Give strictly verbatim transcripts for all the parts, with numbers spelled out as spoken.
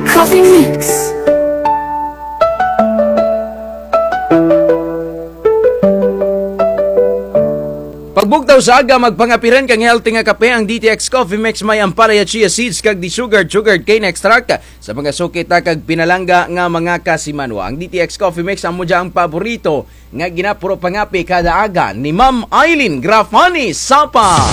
Coffee Mix. Pagbugtaw sa aga, magpangapiran kang healthy nga kape, ang D T X Coffee Mix may ampalaya, chia seeds, kag desugared, sugared cane extract. Sa mga suki ta kag pinalangga nga mga kasimanwa, ang D T X Coffee Mix amo dya ang paborito nga ginapuro pangapi kada aga ni Ma'am Eileen Grafani Sapa.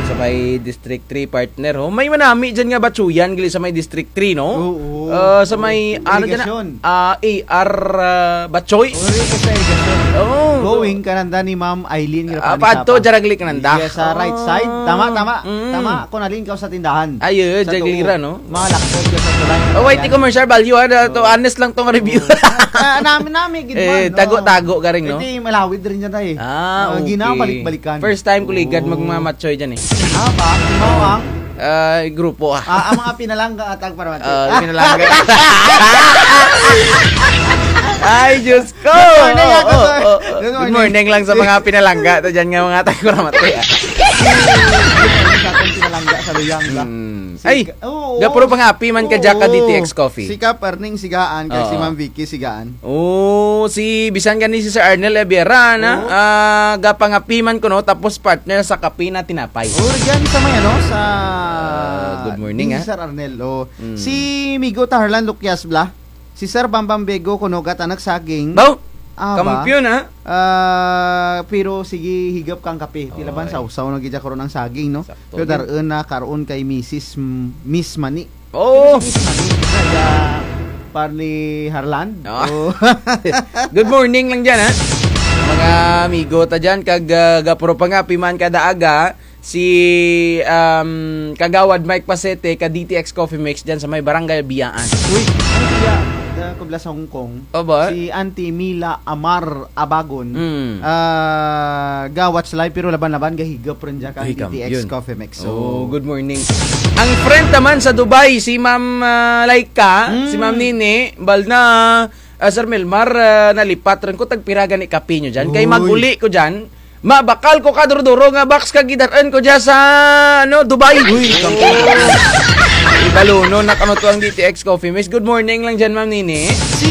Sa may District three, partner, ho. May manami dyan nga batsuyan, gali sa may District three, no? Oo. Ah, sa may, ano dyan na? Irigasyon. Ah, A R, ah, Batchoy. Ori ka sa irigasyon. Oo. Going kananda ni Ma'am Eileen Ah, Grafani paadto, Sapa. Jaragli kananda. Yes, sa right side. Tama, tama. Mm. Tama. Kung nalingkaw sa tindahan. Ay, eh, Sa Jaglira, tuo. No? Mga lakod ka sa tulay. Oh, wait, commercial value, ah, to, honest lang tong review. Oo. Ah, nami, nami, gid Eh, man, no? Tago-tago ka rin, no? Iti malawid rin dyan, eh. Ah, Ah, okay. Ginabalik-balikan. First time ko ligad Oo. magmamatsoy dyan, eh. Ah, ba? Mao ang? Ah, grupo, ah. Ah, ang mga pinalangga atag para mati. Ah, pinalangga. Ay, Diyos ko! Good morning, ah, good morning. Good morning lang sa mga pinalangga ta dyan nga mga tagkuramati, ah. Sa atong pinalangga sa luyang, ba? Mm. Ay, Oo. gapuro pangapi man ka dyan ka Oo. D T X Coffee. Si Kap Erning Sigaan, kag si Oo. Ma'am Vicky Sigaan. Oo, si, bisan gani si Sir Arnel Ebiera, na? Oo. Ah, gapangapi man kuno, tapos partner sa kape na tinapay. Oo, dyan sa may ano, sa Ah, good morning, ah. Sir Arnel, oo. Mm. Si Migo Taharlan Lukyas Bla. Si Sir Bambam Bego kuno gatanak saging. Baw! Ah, ba? Kampiyon, ah. Ah, pero sige, higap kang kape. Ti laban Oy. sawsaw na gid dya karon ang saging, no? Sakto Pero din. dar-un na karon kay Misis M-, Miss Mani. Oh! Miss Mani. Kaya, par ni Harland. Ah. Oh. Good morning lang dyan, ha? Mga amigo ta dyan, kag, ah, gapuro pangapi man kada aga, si, um, Kagawad Mike Pasete, ka D T X Coffee Mix dyan sa may Barangay Biyaan. Uy, ano kaya? Da, kubla sa Hong Kong. Aba? Si Auntie Mila Amar Abagon. Mm. Ah, gawat sa live, pero laban-laban, gahigop rin dyan ka Ay, D T X kampiyon. Coffee Mix. So, Oh, good morning. Ang friend naman sa Dubai, si Ma'am, ah, Laika, Mm. si Ma'am Nini, bal na, ah, Sir Melmar, ah, nalipat rin ko, tagpira gani kape nyo dyan. Kay Uy. mag-uli ko dyan, mabakal ko ka duro-duro nga box ka gidar-an ko dyan sa, ano, Dubai. Uy, kampiyon. Ibaluno na kano to ang D T X Coffee Mix. Good morning lang dyan, Ma'am Nini. Si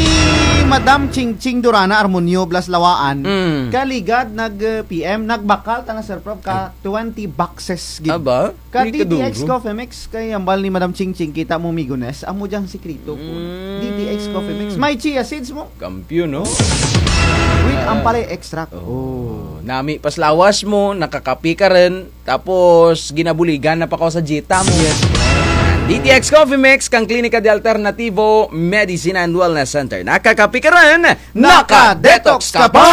Madam Ching Ching Durana Armonio Blas Lawaan, Mm. kaligad nag, eh, P M, nagbakal ta na, Sir Prof, ka Ay. twenty boxes gid. Aba, Ka uy, D T X kaduro. Coffee Mix, kay ambal ni Madam Ching Ching, kita mo, Migones, amo dyang sikreto ko. Mm. D T X Coffee Mix. May chia seeds mo. Kampiyon, no? With Ah. ampalaya extract. Oh. Oh. Nami pas lawas mo, nakakape ka rin, tapos ginabuligan na pa ka sa dieta mo. Yes. D T X Coffee Mix, kang Klinika de Alternativo Medicine and Wellness Center. Nakakape ka rin, naka-detox ka pa!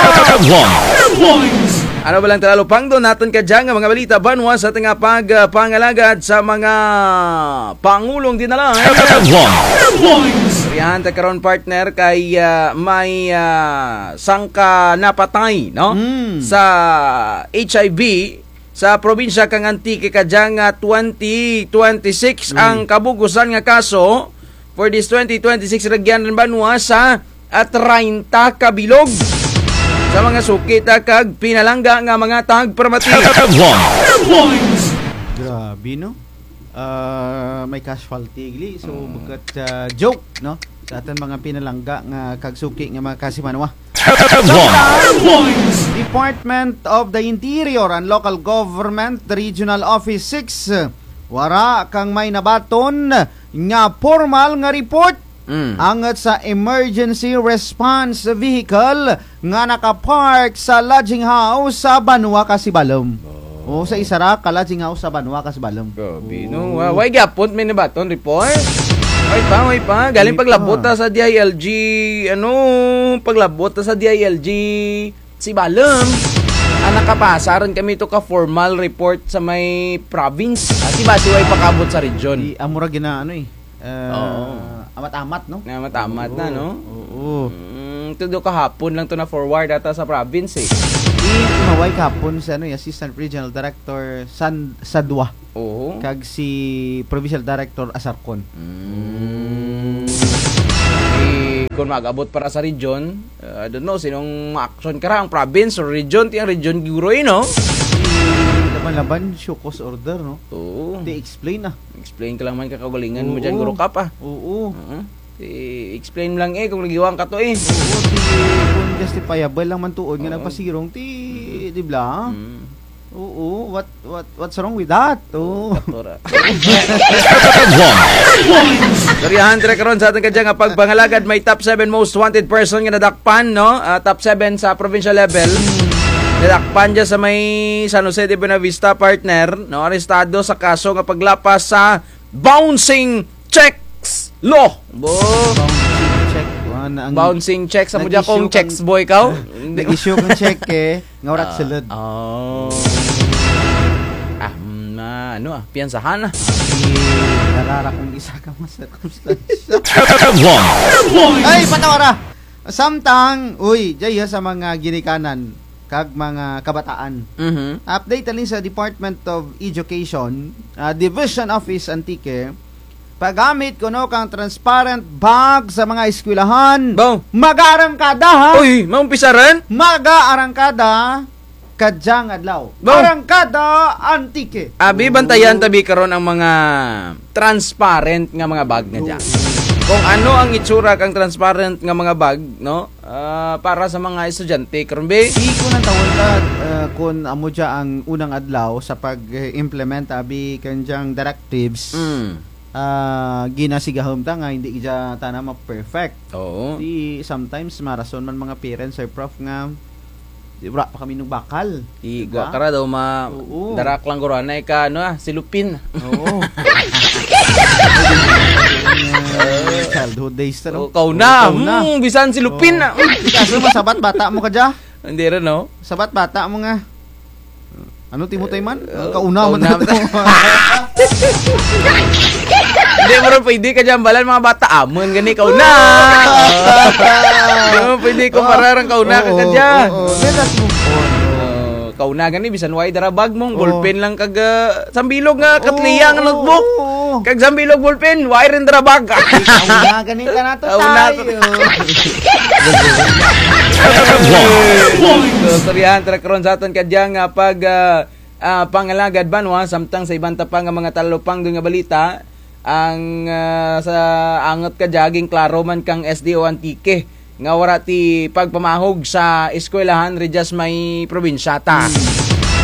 Headlines. Ano ba lang talalupangdon natun kadya nga mga balita banwa sa atin nga pag, ah, pangalagad sa mga pangulong dinala? Headlines. Riyan ta karon, partner, kay, ah, may, ah, sangka napatay, no? Mm. Sa H I V sa probinsya kang Antique kadya nga twenty twenty-six Mm. ang kabugusan nga kaso for this twenty twenty-six rugyan rin banwa sa, ah, treinta ka bilog. Sa mga suki ta kag pinalangga nga mga tagparamati. Headlines. Grabe, no? Ah, may casualty, gli. So, Mm. bukut, ah, joke, no? Sa atun mga pinalangga nga kag suki nga mga kasimanwa. Headlines. Department of the Interior and Local Government Regional Office six, wara kang may nabaton nga pormal nga report Mm. angut sa emergency response vehicle nga nakapark sa lodging house sa banwa ka Sibalom. Oh. O, sa isara ka lodging house sa banwa ka Sibalom. Grabe, no? Oh. Wa-, way gyapon may nabaton report? Way pa, way pa. Galing Way pa. paglabot ta sa D I L G, ano, paglabot ta sa D I L G Sibalom. Ah, nakapasa rin kami to ka formal report sa may province. Kasi basi way pakabot sa region. Di, amo ra gina, ano, eh. Eh, Oo. amat-amat, no? Amat-amat na, Oo. no? Oo. Mm, todo kahapon lang to na-forward ata sa province, eh. Di, imaway kahapon sa, ano, eh, Assistant Regional Director San-, Sadwa. Oo. Kag si Provincial Director Asarcon. Mm. Eh, kung mag-abot para sa region, uh, I don't know, sinong ma-action kara, ang province or region, ti ang region guro, eh, no? Laban-laban, show cause order, no? Oo. Ti explain, ah. Explain ka lang man ka kaugalingan mo dyan, Guro Kap, ah. Oo. Oo. I-explain lang eh, kung nagiwang ka to eh. Oo, ti, kung justifiable lang man tuod nga nagpasirong, ti, di bla? Mm. Oo, what, what, what's wrong with that? Oo. Doktora. Duriahan, tira karon sa atun kadya nga pagpangalagad, may top seven most wanted person nga nadakpan, no? Ah, top seven sa provincial level. Nadakpan dya sa may San Jose de Buenavista, partner, no? Arestado sa kaso nga paglapas sa bouncing checks law. Bo. Bouncing check. Wa na ang Bouncing checks, amo dya kung nag-issue kang checks boy ka? Nag-issue kang check eh, nga wara sulod. Oh. Ah, mm, ah, ano ah, piyansahan na. Di, narara kung isa ka mga sirkumstansya. Ay, patawara! Samtang, uy, dya sa mga ginikanan kag mga kabataan. Mhm. Update halin sa Department of Education, ah, Division Office Antique, paggamit kuno kang transparent bag sa mga eskwelahan. Bo. Mag-aarangkada, ha? Uy, maumpisa run? Mag-aarangkada kadyang adlaw. Bo. Arangkada Antique. Abi, bantayan ta bi karon ang mga transparent nga mga bag nga dya. Kung ano ang itsura kang transparent nga mga bag, no? Ah, para sa mga estudyante, karon bi? Di ko nang tawon ta, ah, kun amo dya ang unang adlaw sa pag-implement abi kandyang directives. Mm. Ah, ginasigahum ta nga hindi dya tana ma-perfect. Oo. Di, sometimes, marason man mga parents, Sir Prof, nga di, wara pa kami nagbakal. Di, gwa ka ra daw ma-, darak lang guro, anay ka, ano, ah, silupin. Oo. Childhood days ta, no? O, kauna. Kauna. Mm, bisan silupin na. Kaso masabat bata mo kadya? Hindi run, no? Sabat bata mo nga. Ano ti mo tay man? Kauna man. Hindi mo run pwede kadya hambalan mga bata, amun gani kauna. Hindi mo pwede kumparar ang kauna ka kadya. Oo, oo. Let us move on. Oh, kauna gani, bisan way dara bag mo, ballpen lang kag, ah, sambilog nga katliya nga notebook. Oo, oo. Kag sambilog ballpen, way run dara bag. Kauna gani ta nato tayo. So, istoryahan ta ra karon sa atun kadya nga pag, ah, ah, pangalagad banwa, samtang sa iban ta pa nga mga talupangdon nga balita, ang, ah, sa angot kadya, ginklaro man kang S D O Antique nga wara ti pagpamahog sa eskwelahan ridya sa may probinsya ta. Hmm.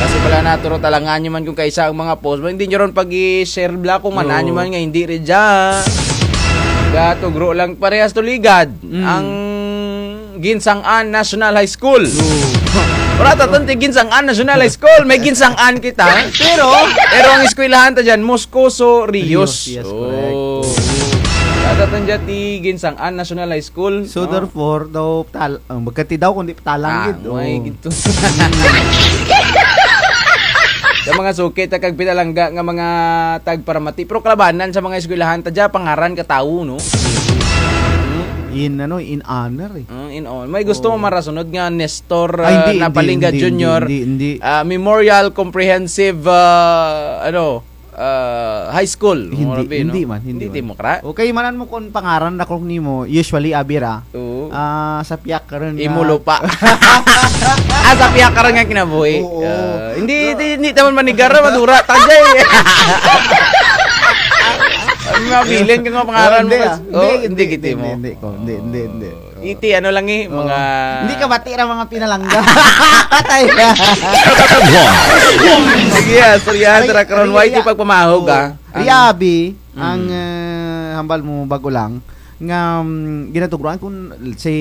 Kasi pala naturo talangan nyo man kung kaisa ang mga post, hindi nyo ron pag-i-share bla kung man-an nyo man nga hindi ridya. Gatugro lang parehas to ligad. Hmm. Ang Ginsangan National High School. Oo. Wara ta tun ti Ginsangan National High School. May Ginsangan kita. Pero, pero ang eskwelahan ta dyan, Moscoso Rios. Rios, yes, correct. Oh. Wara ta tun dyan ti Ginsangan National High School, no? So, therefore, daw, tal-, ah, magkati daw, kundi talang gid. Ah, may gid to. Sa mga suki ta kag pinalangga nga mga tagparamati. Pero kalabanan sa mga eskwelahan ta dyan, pangaran ka tawo, no? In, ano, in honor, eh. Ah, in honor. May gusto mo marasunod nga Nestor, ah, Napalingga Junior, ah, Memorial Comprehensive, ah, ano, ah, High School. Hindi, hindi man, hindi man. Hindi mo kara? Okay, man-an mo kung pangaran ra kung nimo, usually, abi ra. Oo. Ah, sa piyak ka run nga. Imo lupa. Ah, sa piyak ka run nga kinabuhi. Oo. Ah, hindi, hindi, hindi ta man manigar ra, madura ta dya, eh. Mabilin ka nga pangaran mo. Hindi, ah. Oh, hindi, hindi, hindi, hindi, hindi, hindi, hindi. Iti, ano lang eh, mga hindi ka bati ra mga pinalangga. Patay. Sige, ah, istoryahan ta ra karon, way ti pagpamahog, ah. Ri abi, ang, eh, hambal mo bag-o lang, nga, mm, ginatugruan kun, say,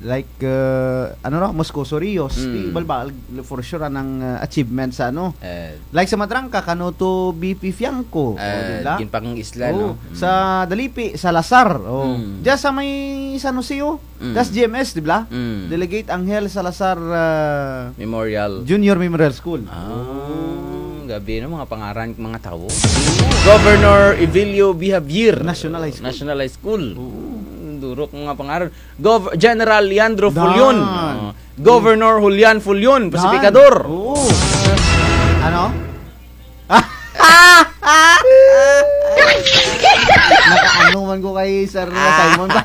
like, eh, ano ra, Moscoso Rios, ti balbal, for sure, anang, eh, achievement sa, ano. Eh, like sa Madrangca, kano to B P Fiangco, o, di bla? Ginpang-isla, no? Sa Dalipi, Salazar, o. Dya sa may San Jose, o. Tas G M S, di bla? Delegate Angel Salazar, ah, Memorial. Junior Memorial School. Ah, gabi, no, mga pangaran, mga tawo. Governor Evelio B. Javier. National High School. National High School. Oo. Durok mga pangaran. Gov-, General Leandro Fullon. Ah, Governor Julian Fullon, Pacificador. Oo. Ano? Nakaano man ko kay Sir Simon ba?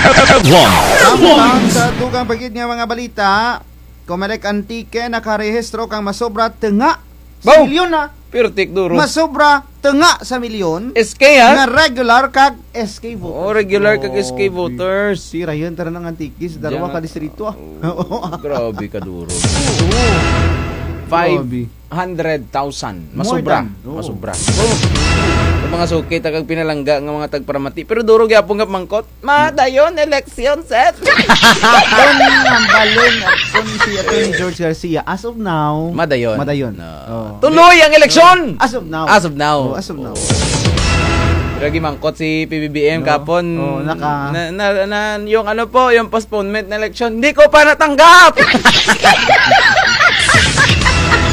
Samtang sa dugang pa gid nga mga balita, Comelec Antique nakarehistro kang masobra tunga. Sibilyo na. Pirtik duro. Masobra nga sa milyon S K, ha? Nga regular kag S K voters. Oh, regular kag S K voters. Grabe. Sira yun, tara ng Antiques, darwa ka distrito, ah. Diyan, oh, grabe ka duro. Oo. Grabe. Five hundred thousand. More than. Masubra. Oo. Masubra. Oh. Sa mga suki, ta kag pinalangga nga mga tagparamati. Pero duro gyapon nga mangkot. Madayon, eleksyon, sir. Kon ang balon, kon si Attorney George Garcia, as of now, madayon. Madayon. No. Oh. Tuloy ang eleksyon! As of now. As of now. Oh, as of now. Oh. Pero gimangkot si P B B M kahapon. Oh, naka- na, na, na, yung ano po, yung postponement na eleksyon, hindi ko pa natanggap!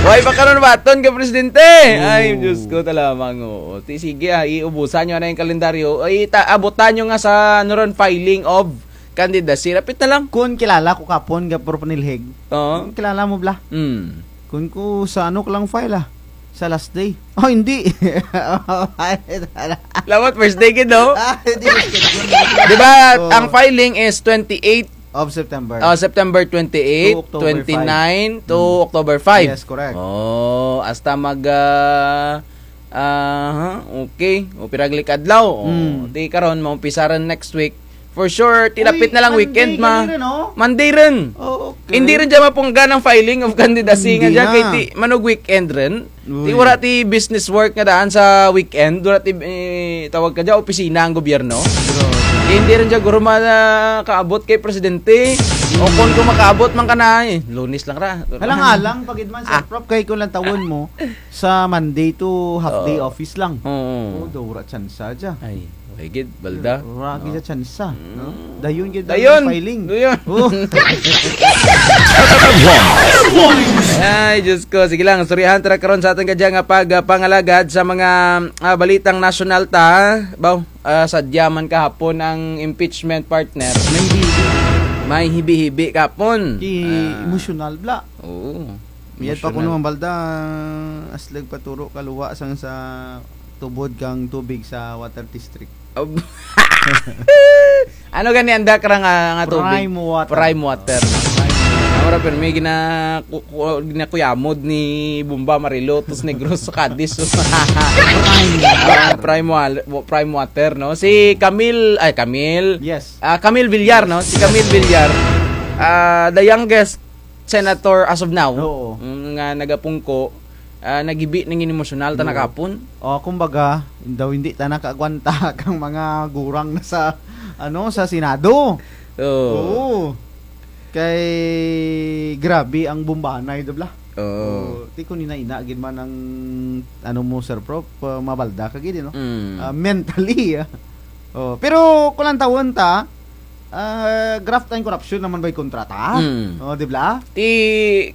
Why pa karon baton ka, Presidente? Oh. Ay, Diyos ko, talamang, oo. Ti, sige, ah, iubusan nyo na yung kalendaryo. Ay, ta-, abutan nyo nga sa, ano ron, filing of candidacy. Rapit na lang. Kun kilala ko kahapon, ga Prof Nilhig. Oo. Kun kilala mo, bla? Mm. Kun ko sa ano ko lang file, ah? Sa last day. Oh, hindi. Lawat first day gid, no? Ah, hindi, first day. Di ba, ang filing is twenty-eight of September. Oh, September twenty-eight, to October five. Twenty-nine to October five. Yes, correct. Oh, hasta mag, ah, ah, okay. O, piraglik adlaw. Oh, di karon, maumpisa rin next week. For sure, tilapit na lang weekend, ma-, Monday rin, oh. Monday rin. Oh, okay. Hindi rin dyan mapunggan ang filing of candidacy nga dyan, kay ti, manog weekend rin. Uy. Ti wara ti business work nga daan sa weekend, wara ti, eh, tawag ka dyan, opisina ang gobyerno. Grabe. Ti hindi rin dyan guro makaabot kay presidente. O kun, kun makaabot man ka na, eh, Lunes lang ra. Alang-alang, pagid man sa prop, kay kun lantawon mo, sa Monday to half day office lang. Oo. Oh, daw wara tsansa dyan. Ay. Ay, gid, balda. Wara gid sa tsansa, no? Dayon gid ang filing. Dayon. Oh. Ay, Diyos ko. Sige lang, istoryahan ta ra karon sa atun kadya nga pag, ah, pangalagad sa mga, ah, balitang nasyonal ta. Baw, ah, sadya man kahapon ang impeachment, partner. May hibi-hibi. May hibi-hibi kahapon. Ki-, ah, emosyonal, bla. Oo. Mayad pa kuno ang balda, aslag pa turo kaluwa sang sa tubod kang tubig sa water district. Ab-, ano gani ang dakra nga, nga tubig? Prime water. Prime water. Prime water. Amo ra pirmi gina-, ku-, ku-, ginakuyamod ni Bomba Marilo, tos Negros sa Cadiz. Prime water. Ah, prime wa-, prime water, no? Si Camille, ay, Camille. Yes. Ah, Camille Villar, no? Si Camille Villar, ah, the youngest senator as of now, oo, mm, nga nagapungko, ah, naghibi na nga emosyonal tana kahapon. O, kumbaga, daw hindi tana kaagwanta kang mga gurang na sa, ano, sa Senado. Oo. Oo. Kay grabe ang bombahanay, di bala? Oo. Oo. Ti kun ina-ina gid man ang, ano mo, Sir Prof, ah, mabalda ka gid, no? Mm. Ah, mentally, ah. Oh, pero kun lantawon ta, ah, graft and corruption naman bay kontra ta. Mm. Oh, di bala? Ti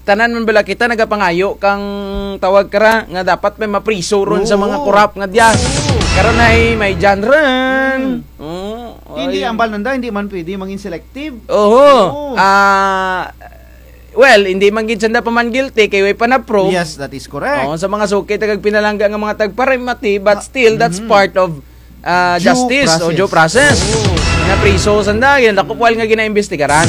tanan man bala kita nagapangayo kang tawag kara nga dapat may mapriso ron sa mga korap nga dya. Oo. Karon ay may dyan ron. Mm. Oo. Hindi, ambal nanda, hindi man pwede mangin selective. Oho. Oo. Ah, well, hindi man gid sanda pa man guilty kay way pa na-prove. Yes, that is correct. Oo, sa mga suki, tagag pinalangga nga mga tagparimati, but still, that's part of ah, justice o due process. Oo. Napriso sanda, gid ang dako puwal nga ginaimbestigaran.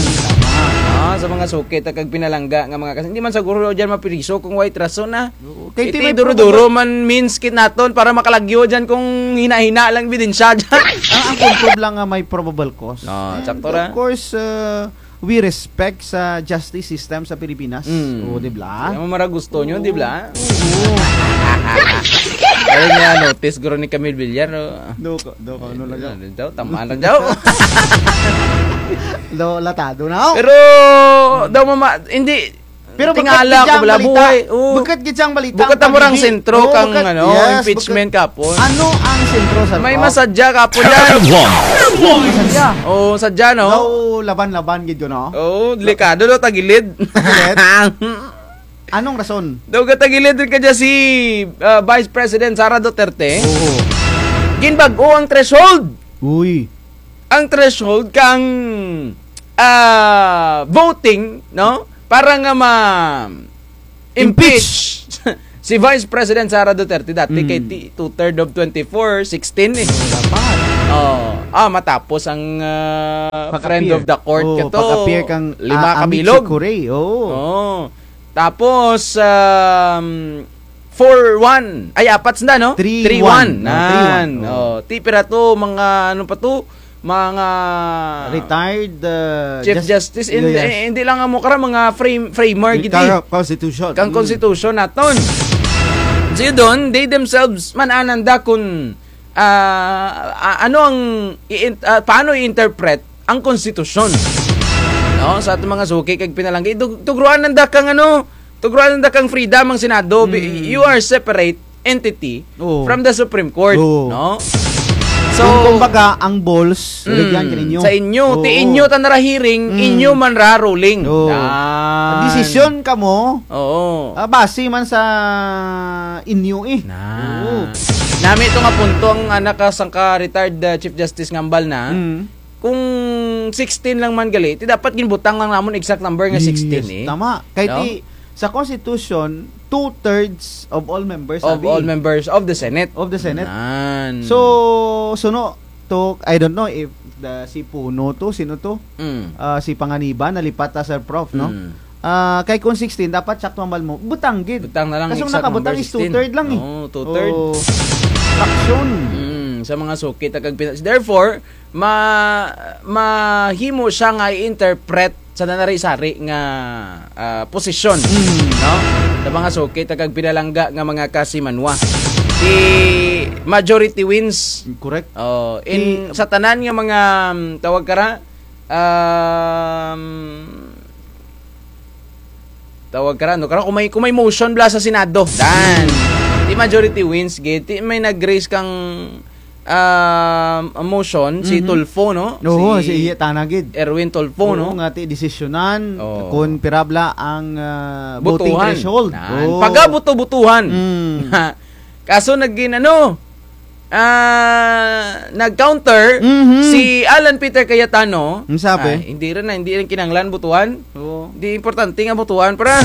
Ah, sa mga suki, ta kag pinalangga nga mga kas-, hindi man siguro dyan mapriso kung way rason, ah. Oo. Kay ti duro-duro man means kit naton para makalagyo dyan kung hina-hina lang ebidensya dyan. Ang, ang kuntob lang nga may probable cause. Ah, sakto ra. Of course, ah, we respect sa justice system sa Pilipinas. Mm. O, di bala? Kaya mo mara gusto nyo, di bala? Oo. Ay, nga, notice guro ni Camille Villar, no? Do ko, do ko, ano lang daw? Ano daw? Tamaan lang daw. Do, latado na ako. Pero, daw mama, hindi, pero tingala ko, bala, buhay. Oo. Bukut gid siyang balita. Bukut ang paghibi. Sentro kang, ano, impeachment kahapon. Ano ang sentro, Sir Prof? May masadya kahapon dyan. May masadya. Oo, sadya, no? Daw laban-laban gid yun, no? Oo, delikado daw, tagilid. Tagilid? Anong rason? Daw gatagilid rin kadya si, ah, Vice President Sara Duterte. Oo. Ginbag-o ang threshold. Uy. Ang threshold kang, ah, voting, no? Para nga ma-impeach si Vice President Sara Duterte, dati kay ti-, two-third of twenty-four, sixteen eh. Oo, dapat. Oh, ah, matapos ang, ah, friend of the court kato, pag-appear kang, lima ah, ka bilog. Amici curiae, oo. Oo. Tapos, um, four one. Ay, apat sanda, no? Three one. Three one. No, three one. Nan. Oh. Oh, ti pira to, mga, ano pa to? Mga retired, uh, Chief jus-, Justice. In-, yes. Eh, hindi lang amo kara, mga frame-, framer, gid, eh. Kara Constitution. Kang Mm. Constitution naton. So, yun, they themselves, man-an nanda kung, ah, a-, ano ang i-in-, ah, paano i-interpret ang konstitusyon. No? Sa atong mga suki kag pinalangga, tug-, tugroan nanda kang ano, tugroan nanda kang freedom ang Senado. Bi-, Mm. you are separate entity Oo. from the Supreme Court, Oo. no? So, kung, kumbaga, ang balls, Mm, rugyan kaninyo. Sa inyo, ti Oo. inyo ta nara hearing, Mm. inyo man ra ruling. Oo. Nan. Desisyon kamo, Oo. ah, base man sa inyo, eh. Na. Oo. Nami to nga punto ang, ah, naka-, sangka retired, ah, Chief Justice nga hambal na. Mm. Kung sixteen lang man gali, ti dapat ginbutang lang namon exact number nga Yes, sixteen, eh. tama. Kay No? ti, sa Constitution, two-thirds of all members, Of abi. all members of the Senate. Of the Senate. Nan. So, suno to, I don't know if the, si Puno to, sino to? Mm. Ah, si Panganiban, nalipat ta, Sir Prof, no? Mm. Ah, kay kung sixteen, dapat sakto hambal mo, butang gid. Butang na lang, Kasong exact nakabutang number is two-third sixteen. lang, eh. Oo, two-third. Oo. Fraksyon. Mm, sa mga suki ta kag pina-, therefore, ma-, mahimo siya nga i-interpret sa nanari-sari nga, ah, posisyon, Mm. no? Sa mga suki ta kag pinalangga nga mga kasimanwa. Ti majority wins. Correct. Oh, in Ti sa tanan nga mga, mm, tawag kara, um, tawag kara, no? Kara, kung may, kung may motion bala sa Senado, nan. Ti majority wins, gid. Ti may nag-raise kang ah, motion, si Mhm. Tulfo, no? Oo, Si si iya tana gid. Erwin Tulfo, Oo, no? nga ti desisyonan Oo. kung pira bala ang, ah, voting Botohan. threshold. Nan. Oo. Pagaboto-botohan. Mm. Kaso nagin-, ano, ah, nag-counter Mhm. si Alan Peter Cayetano. Ang sabi? Ay, hindi rin na, hindi rin kinanglan botohan. Oo. Di importante nga botohan, para.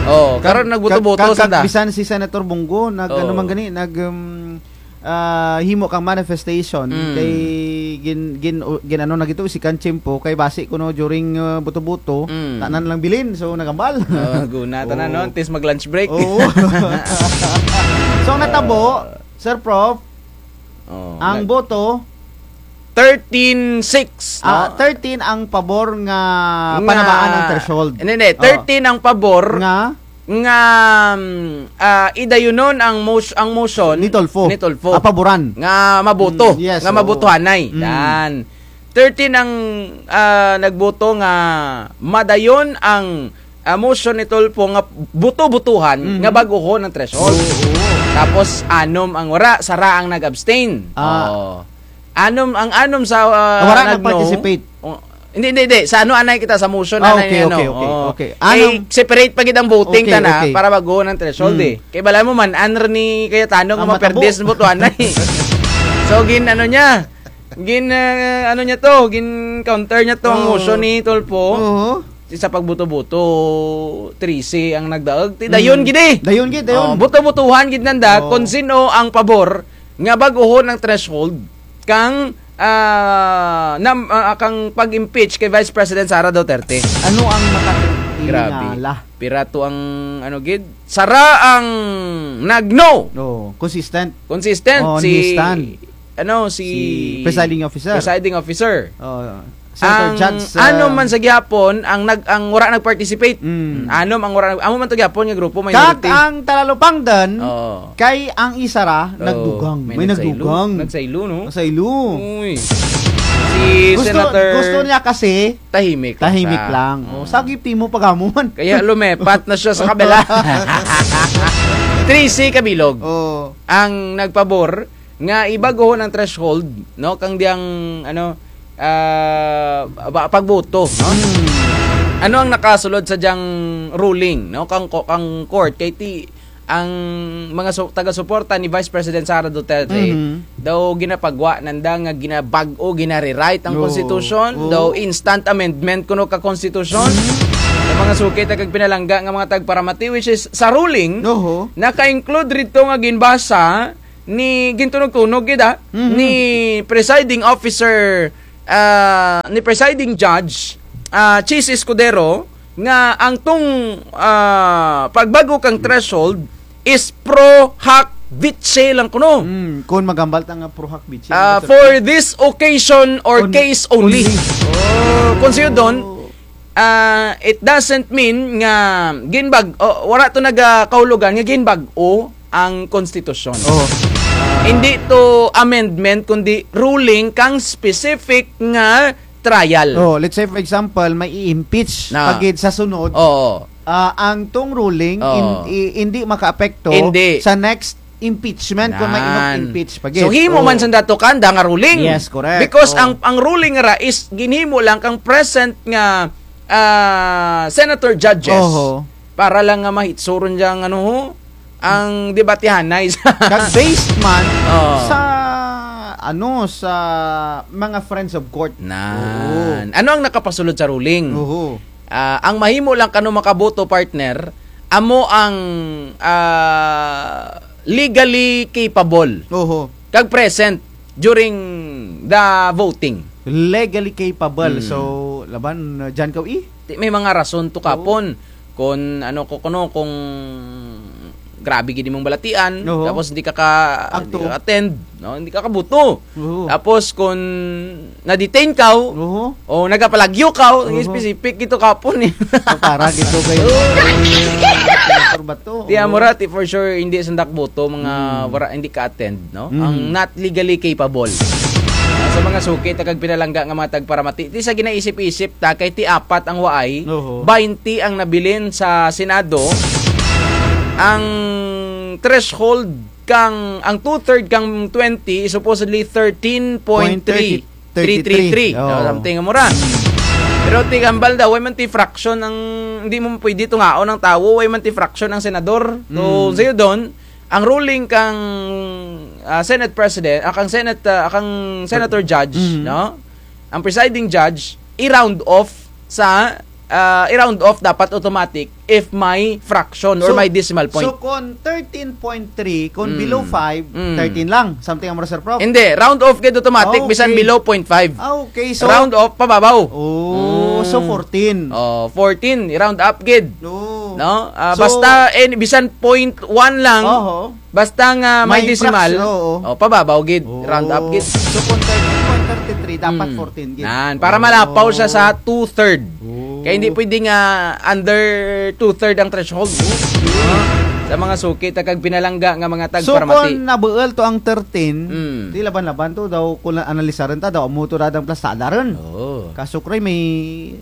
Oh, Kag-, karon nagboto-boto kag-, kag-, sanda. Bisan si Senator Bong Go, nag-, ano Oo. man gani, nag, um, ah, himo kang manifestation, Mm. kay gin-, gin-, o, gin-, ano na gito, si Kanchimpo, kay basi kuno during, ah, boto-boto, Mm. tanan lang bilin, so nagambal. Oh, guna tanan, Oo. no? Tis mag-lunch break. Oo. So, ang natabo, Sir Prof, Oh, ang nag- boto, thirteen six, Ah, no? thirteen ang pabor nga Nga panamaan ang threshold. Hindi, hindi. Oh. Thirteen ang pabor Nga? nga, mm, ah, idayunon ang mos-, ang motion Ni Tulfo. ni Tulfo. Ah, paboran. Nga maboto. Mm, yes, Nga oo. mabotohanay. Mm. Yan. Thirteen ang, ah, nagboto nga madayon ang, ah, motion ni Tulfo nga boto-botohan Mhm. nga bag-ohon ang threshold. Oo, oo. Tapos, anom ang wara, sara ang nag-abstain. Ah. Oo. Anom, ang anom sa, ah, Wara nag-no. nag-participate. Oh, hindi, hindi, hindi. Sa ano, anay kita sa motion, Ah, anay okay, ano. okay, okay, Oo. okay. Kay Anom. separate pa gid ang voting Okay, tana okay. para bag-ohon ang threshold, Mm. eh. Kay bala mo man, anr ni Cayetano nga Ang matabo. maperdis ang botohan na, eh. So, gin, ano niya, gin, ah, ano niya to, gin counter niya to ang Oo. motion ni Tulfo. Oo. Ti sa pagboto-boto, trese ang nagdaog. Ti dayon Mm. gid, eh. Dayon gid, dayon. Oh, boto-botohan gid nanda Oo. kung sino ang pabor nga bag-ohon ang threshold kang, ah, nam-, ah, kang pag-impeach kay Vice President Sara Duterte. Ano ang Grabe. makatingala? Pira to ang, ano gid? Sara ang nag-no. Oo, consistent. Consistent Oo, si, ni-stand. ano, si Si presiding officer. presiding officer. Oo. Senator Ang Judge, ano ah, man sa gihapon, ang nag-, ang wara nag-participate. Mm. Mm, anom ang wara nag-, amo man to gihapon nga grupo, Kag minority. ang Talalupangdan, Oo. kay ang isara, Oo, nagdugang. may May nagsaylo. nagdugang. Nagsaylo, no? Nagsaylo. Uy. Si Gusto, Senator gusto niya kasi, tahimik lang tahimik siya. lang. Oh, Oo. sagip timo pagamuman. Kaya lumepat na siya sa kabila. Trese kabilog Oo. ang nagpabor nga ibag-ohon ang threshold, no? Kang diyang, ano, ah, ba-, pagboto, no? Hmm. Ano ang nakasulod sa diyang ruling, no? Kang ko-, kang court, kay ti, ang mga su-, taga-suporta ni Vice President Sara Duterte, Mhm. daw ginapagwa nanda nga ginabag-o, ginarewrite ang Oo. konstitusyon, Oo. daw instant amendment kuno ka konstitusyon. Mhm. Sa mga suki ta kag pinalangga nga mga tagparamati, which is sa ruling, Oho. naka-include rito nga ginbasa ni, gintunog-tunog gid, ah, Mhm. ni presiding officer, ah, ni presiding judge, ah, Chiz Escudero, nga ang tong, ah, pagbag-o kang threshold, is pro hac vice lang kuno. Hmm, kung maghambal ta nga pro hac vice, Ah, ano ba, for sir? This occasion or Only. Case only. Only. Oh, kung sayo dun, ah, it doesn't mean nga ginbag-, oh, wara to nagakahulugan nga ginbag-o ang konstitusyon. Oh. Hindi to amendment, kundi ruling kang specific nga trial. Oh, let's say, for example, may i-impeach Na. Pagid sa sunod. Oo. Ah, ang tong ruling, Oo. in-, i-, hindi makaapekto Hindi. Sa next impeachment kung may Nan. Inok-impeach pagid. So, himo man Oo. Sanda to kanda nga ruling. Yes, correct. Because Oo. ang, ang ruling ra is ginhimo lang kang present nga, ah, senator judges. Oho. Para lang nga mahitsuron dyan, ano ho, ang debatihanay sa Kag based man Oo. Sa, ano, sa mga friends of court. Nan. Oo. Ano ang nakapasulod sa ruling? Oo. Ah, ang mahimo lang kano makaboto, partner, amo ang, ah, legally capable. Oho. Kag present during the voting. Legally capable. Hmm. So, laban, uh, dyan ka, eh? Ti, may mga rason to Oo. Kapon. Kung ano ko kuno, kung grabe gid imong balatian, Oo. Tapos hindi ka ka-, Agto. Hindi ka attend, no? Hindi ka kaboto. Oo. Tapos kung na-detain ka, Oo. O nagapalagyo ka, Oo. Specific gid to kapon eh. So, para gid to kayo. Oo. Ano ba to? Ti, Oo. Amo ra, ti for sure, hindi sanda kaboto, mga Hmm. wara, hindi ka-attend, no? Hmm. Ang not legally capable. Sa mga suki ta kag pinalangga nga mga tagparamati, ti sa ginaisip-isip ta, kay ti apat ang waay, Oo. baynte ang nabilin sa Senado, ang threshold kang, ang two-third kang twenty is supposedly thirteen point three. Point thirty, thirty-three. Three three three. Oo. No, something amo ra. Pero ti hambal daw, way man ti fraction ang, hindi mo pwede tungaon ang tawo, way man ti fraction ang senador. So, Mm. sayo dun, ang ruling kang, ah, Senate President, ah, kang Senate, ah, kang Senator Judge, Mm. no? Ang presiding judge, i-round off sa, ah, i-round off dapat automatic if may fraction or So, may decimal point. So, kung thirteen point three, kung Mm. below five, Mm. thirteen lang. Something amo ra, Sir Prof. Hindi, round off gid automatic, Ah, okay. Bisan below point five. Ah, okay. So, Round off, pababaw. Oh, so Mm. fourteen. Oh, fourteen, i-round up gid. No. No? Ah, So, basta, eh, bisan point one lang, Oho. Basta nga may May decimal, fraction, oo. O, pababaw gid, Oh. round up gid. So, kung thirteen point thirty-three, dapat Mm. fourteen gid. Nan, para Oh. malapaw siya sa two-third. Oh. Kay hindi pwede nga under two-third ang threshold. Sa mga suki ta kag pinalangga nga mga So, tagparamati. Kung nabuul to ang thirteen, Mm. ti laban-laban to daw, kung analisarun ta daw, amo to ra dang plastada run. Oo. Kaso, kray, may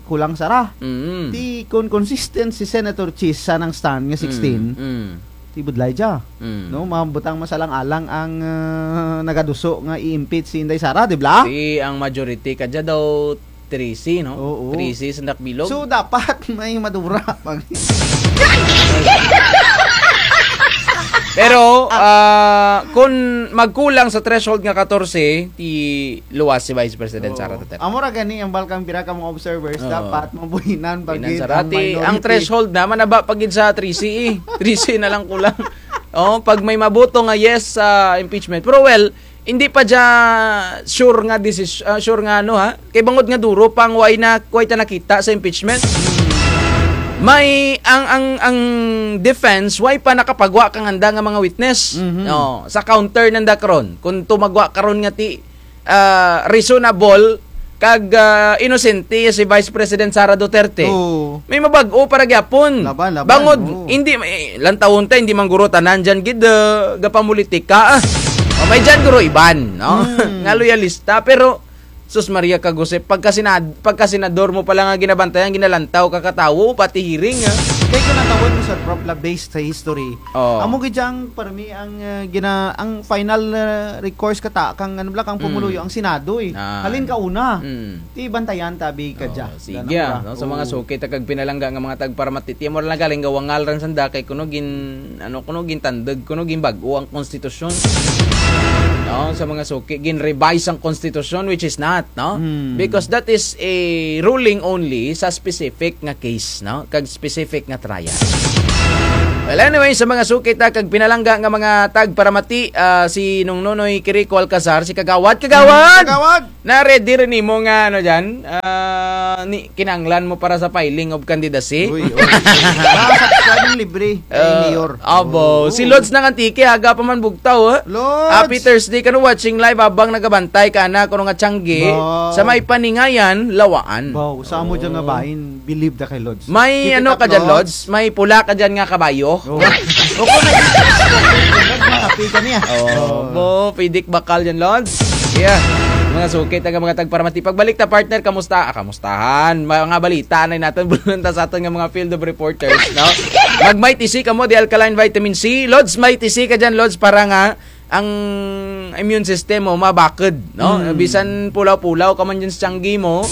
kulang sara. Mm. Ti, kung consistent si Senator Chis sa nang stand nga sixteen, Mm. Mm. Ti budlay dya. Mm. No, mabutang masalang-alang ang, ah, nagaduso nga i-impeach si Inday Sara, di bala? Ti ang majority kadya daw trese, no? Oo. Trese sa Dakbilog. So, dapat may madura pag- Pero, ah, kung magkulang sa threshold nga katorse, ti luwas si Vice President Sara Duterte. Oo. Amo ra gani ang balkang pira ka mga observers, Oo. dapat mabuhinan pa gid ang minority. Ang threshold na, manaba pa gid sa trese eh. Trese na lang kulang. Oh, pag may maboto nga yes sa impeachment. Pero well, hindi pa dya sure nga desis-, ah, sure nga ano ha. Kay bangod nga duro pang way na, way ta nakita sa impeachment. May ang, ang, ang defense, way pa nakapagwa kang anda nga mga witness. Mhm. Oh, sa counter nanda karon. Kung tumagwa karon nga ti ah, reasonable kag, ah, inosente si Vice President Sara Duterte. Oo. May mabag-o pa ra gyapon. Laban, laban, Bangod, oo. hindi, eh, lantawon ta, hindi man guro tanan dyan gid, ah, gapamulitika, ah. O, may dyan guro iban, no? Hmm. Nga loyalista, pero, sus Maria kag Jose, pagka sinad-, pagka senador mo pala nga ginabantayan, ginalantaw ka katawo, pati hearing, ah. Kay kung natawon mo, Sir Prof, la based sa history, Oo. Amo gid dyan, permi ang, ah, gina-, ang final, ah, recourse kata, kang, ano bala, kang Mm. pumuluyo, ang Senado, eh. Ah. Halin kauna. Mm. Ti bantayan ta bi kadya. Oo, sige, Ganun ah, ba? no, sa mga Oo. suki ta kag pinalangga nga mga tagparamati, ti amo ra lang galing gawangal ran sanda kay kuno gin-, ano, kuno gintandug, kuno ginbag-o ang konstitusyon. No, sa mga suki, gin-revise ang konstitusyon, which is not, no? Mm. Because that is a ruling only sa specific nga case, no? Kag specific nga trial. Well, anyway, sa mga suki ta kag pinalangga nga mga tagparamati, ah, si Nung Nonoy Quirico Alcazar, si Kagawad, Kagawad! Kagawad! Na-ready run imo nga, ano dyan? Ah, ni-, kinahanglan mo para sa filing of candidacy? Uy, uy. Mga subscriber. Anong libre? Ay, ah, mayor. Abo. Oo. Si Lods ng Antique, aga pa man bugtaw, eh. Lods! Happy Thursday kano, watching live habang nagabantay kana kuno nga tiyanggi. Wow. Sa may Paningayan, Lawaan. Wow, sa amo dyan nga bahin, believe da kay Lods. May ano ka dyan, Lods? May pula ka dyan nga kabayo? Oo. O, kung nag-, mga pika niya. Oo. Bo, pidik bakal dyan, Lods. Yeah. Mga suki, taga mga tagparamati. Pagbalik ta, partner, kamusta? Ah, kamusta? Tahan, mga balita na natun, bulunta sa atun nga mga field of reporters, no? Mag-Mighty C kamo, the alkaline vitamin C. Lods, Mighty C ka dyan, Lods, para nga ang immune system mo mabakod, no? Mm. Bisan pulaw-pulaw ka man dyan sa tiyanggi mo.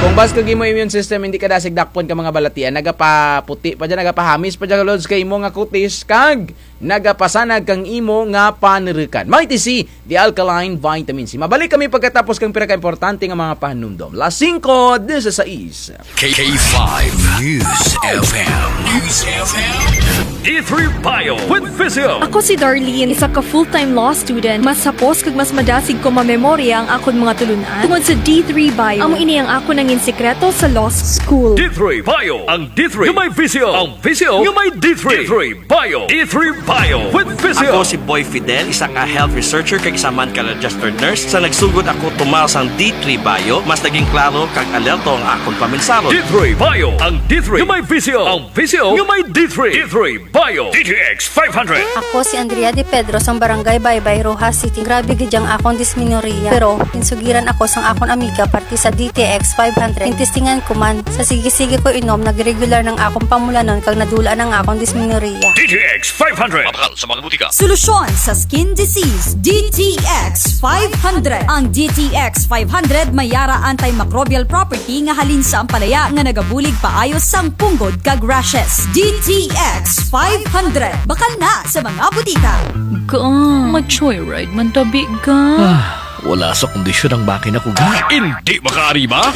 Kung bas kag imo immune system, hindi ka dasig dakpon ka mga balatian, nagapaputi pa dyan, nagapahamis pa dyan, Lods, kay imo nga kutis, kag nagapasanag kang imo nga panurukan. Mighty C, the alkaline vitamin C. Mabalik kami pagkatapos kang pira ka importante nga mga pahanumdom. Las singko disisais. K five News F M. News F M. D three Bio with Visio. Ako si Darlene, isa ka full-time law student. Mas hapos kag mas madasig ko mamemorya ang akon mga tulun-an tungod sa D three Bio. Amo ini ang akon nangin sikreto sa law school. D three Bio. Ang D three nga may Visio. Ang Visio nga may D three. D three Bio. D three Bio with Visio. Ako si Boy Fidel, isa ka health researcher kag isa man ka registered nurse. Sa nagsugod ako tumal sang D three Bio, mas naging klaro kag alerto ang akon pamensahon. D three Bio, ang D three nga may Visio. Ang Visio nga may D three. D three Bio. D T X five hundred. Ako si Andrea De Pedro sang Barangay Baybay, Roxas City. Grabe gid ang akon dismenorrhea. Pero, ginsugiran ako sang akon amiga parte sa D T X five hundred. Ginsistingan ko man. Sa sige-sige ko inom, nag-regular ang akon pamulanon kag nadula na ang akon dismenorrhea. D T X five hundred. Mabakal sa mga butika. Solusyon sa skin disease, D T X five hundred. Ang D T X five hundred may ara antimicrobial property nga halin sa ampalaya nga nagabulig paayo sang punggod kag rashes. D T X five hundred. Bakal na sa mga butika. Ga, ma-joyride man tabi, ga. Ah, wala sa kondisyon ang makina ko, ga. Hindi makaariba?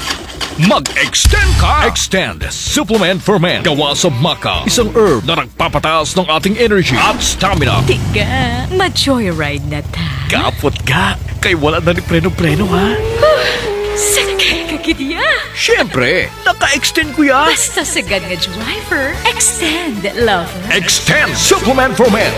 Mag-extend ka! Extend Supplement for Men. Gawa sa maca, isang herb na nagpapataas ng ating energy at stamina. Tiga, ma-joyride na ta. Kapot ga, kay wala na ni preno-preno, ha? Huh, sakay ka gid ya. Siyempre, naka-extend ko ya. Basta sagad nga driver, extend, lover. Extend Supplement for Men.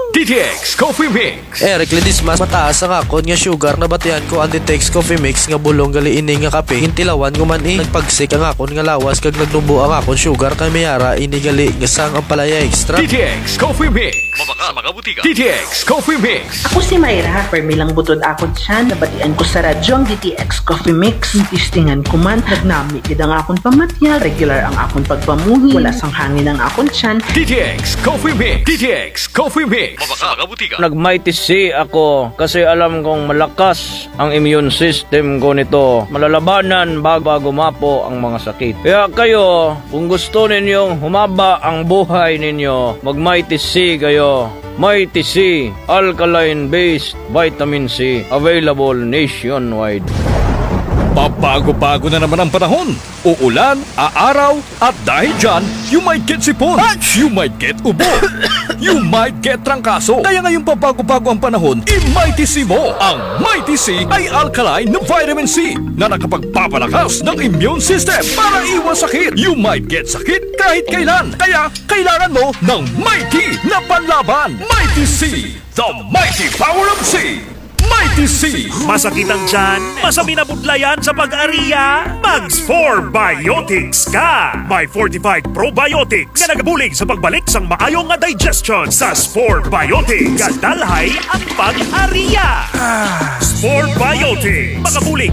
D T X Coffee Mix. Eric Ledesma, mataas ang akon nga sugar, nabatian ko ang D T X Coffee Mix nga bulong gali ini nga kape. Gintilawan ko man, eh. Nagpagsik ang akon nga lawas kag nagnubo ang akon sugar kay may ara ini gali nga sang ampalaya extra. D T X Coffee Mix. Mabakal sa mga butika. D T X Coffee Mix. Ako si Myra, permi lang butod akon tiyan. Nabatian ko sa radyo ang D T X Coffee Mix. Gintistingan ko man, nagnami gid ang akon pamatyag, regular ang akon pagpamuhi, wala sang hangin ang akon tiyan. D T X Coffee Mix. D T X Coffee Mix. Mabakal sa mga butika. Nag-Mighty C ako kasi alam kong malakas ang immune system ko nito. Malalabanan bago, bago gumapo ang mga sakit. Kaya kayo, kung gusto ninyong humaba ang buhay ninyo, mag-Mighty C kayo. Mighty C, alkaline-based vitamin C, available nationwide. Pabago-bago na naman ang panahon. Uulan, aaraw, at dahil dyan, you might get sipon. Ach! You might get ubo. You might get trangkaso. Kaya ngayong pabago-bago ang panahon, i-Mighty C mo. Ang Mighty C ay alkaline na vitamin C na nakapagpapalakas ng immune system para iwas sakit. You might get sakit kahit kailan. Kaya kailangan mo ng Mighty na panlaban. Mighty C, the mighty power of C. Mighty C. Masakit ang tiyan? Masamin na budlayan sa pag-ariya? Mag-Spore Biotics ka! May fortified probiotics nga nagabulig sa pagbalik sang maayo nga digestion. Sa Spore Biotics, gadalhay ang pag-ariya. Spore Biotics, makabulig